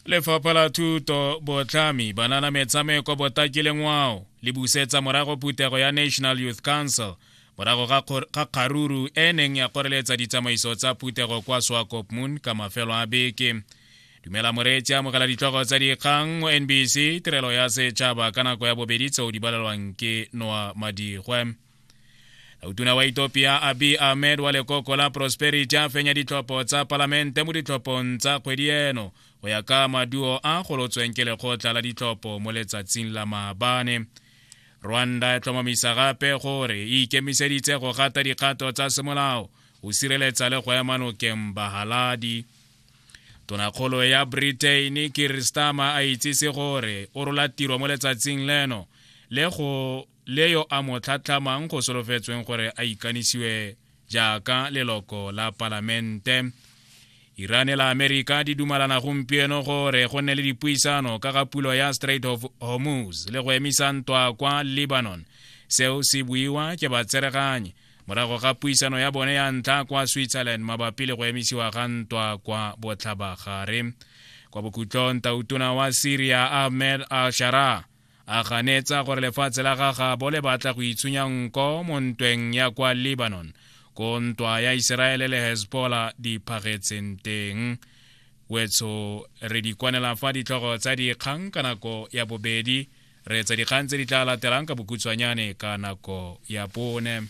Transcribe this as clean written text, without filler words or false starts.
Lefapha la Thuto, Botlhami, Banana, Metshameko, Botaki le Ngwao le busetsa morago phuthego ya National Youth Council morago ga kgaruru e neng ya kgoreletsa ditsamaiso tsa phuthego kwa Swakopmund ka mafelo a beke. Dumela moreetsi, amogela ditlhogo tsa dikgang mo NBC tirelo ya setšhaba ka nako ya bobedi tseo di balelwang ke Noa Madigwe. Tautona wa Ethiopia Abiy Ahmed wa lekoko la Prosperity a fenya ditlhopho tsa palamente mo ditlhophong tsa kgwedi eno go ya ka maduo a golotsweng ke lekgotla la ditlhopho mo letsatsing la maabane. Rwanda e tlhomamisa gape gore e ikemiseditse go gata dikgato tsa semolao go sireletsa le go ema nokeng bahaladi. Tonakgolo ya Britain Keir Starmer a itsise gore o rola tiro mo letsatsing leno le go le yo a mo tlhatlhamang go solofetsweng gore a ikanisiwe jaaka leloko la palamente. Iran le Amerika di dumalana gompieno gore go nne le dipuisano ka ga pulo ya Strait of Hormuz le go emisa ntwa kwa Lebanon. Seo se buiwa ke batsereganyi morago ga puisano ya bone ya ntlha kwa Switzerland mabapi le go emisiwa ga ntwa kwa botlhabagare. Kwa bokhutlong, tautona wa Syria Ahmed al-Sharaa a ganetsa gore lefatshe la gagabo le batla go itshunya nko mo ntweng ya kwa Lebanon, ko ntwa ya Iseraele le Hezbollah di phagetseng teng. Wetsho re di kwanela fa ditlhogo tsa dikgang ka nako ya bobedi, re etsa dikgang tse di tla latelang ka bokhutshwanyane ka nako ya bone.